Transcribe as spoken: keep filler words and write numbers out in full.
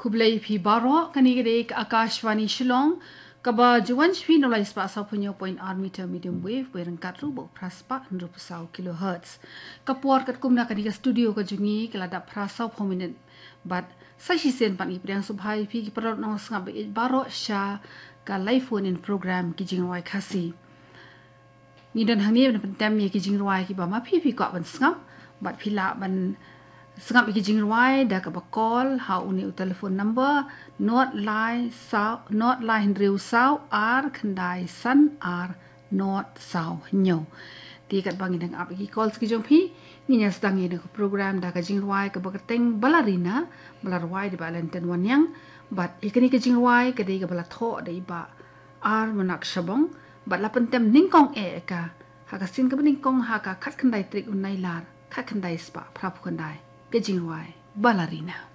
Khublei phi baroh, kane ka dei ka Akashvani Shillong, kaba ju wan sha phi na u lai spah saw phew hynñiew point ar meter medium wave, wei ryngkat ruh bad phra spah hynriew phew saw kilohertz. Ka por katkum na kane ka studio ka jong ngi ka la dap phra saw phew minit. Bad sa shisien pat ngi pdiang sngewbha ïa phi ki paralok nong sngap ba ïeit baroh sha ka live phone in program Ki Jingrwai Khasi. Ngi don hangne ban pyntem ïa ki jingrwai kiba ma phi phi kwah ban sngap, bad phi lah ban sngap ïa ki jingrwai da kaba call ha une u telephone number, nod lai saw, nod lai hynriew saw ar khyndai san ar nod saw hynñiew. Te katba ngi dang ap ïa ki call ki jong phi, ngin ïa sdang ïa ka program da ka jingrwai kaba kyrteng Balarina, ba la rwai da i Bah Lenten Wanniang, bad ïa kane ka jingrwai ka dei kaba la thoh da i Bah R Manak Shabong, bad la pyntem nyngkong eh ka ha ka sien kaba nyngkong ha ka khatkhyndai tarik u Nailar, khatkhyndai spah phra phew khyndai. Ka jingrwai Balarina.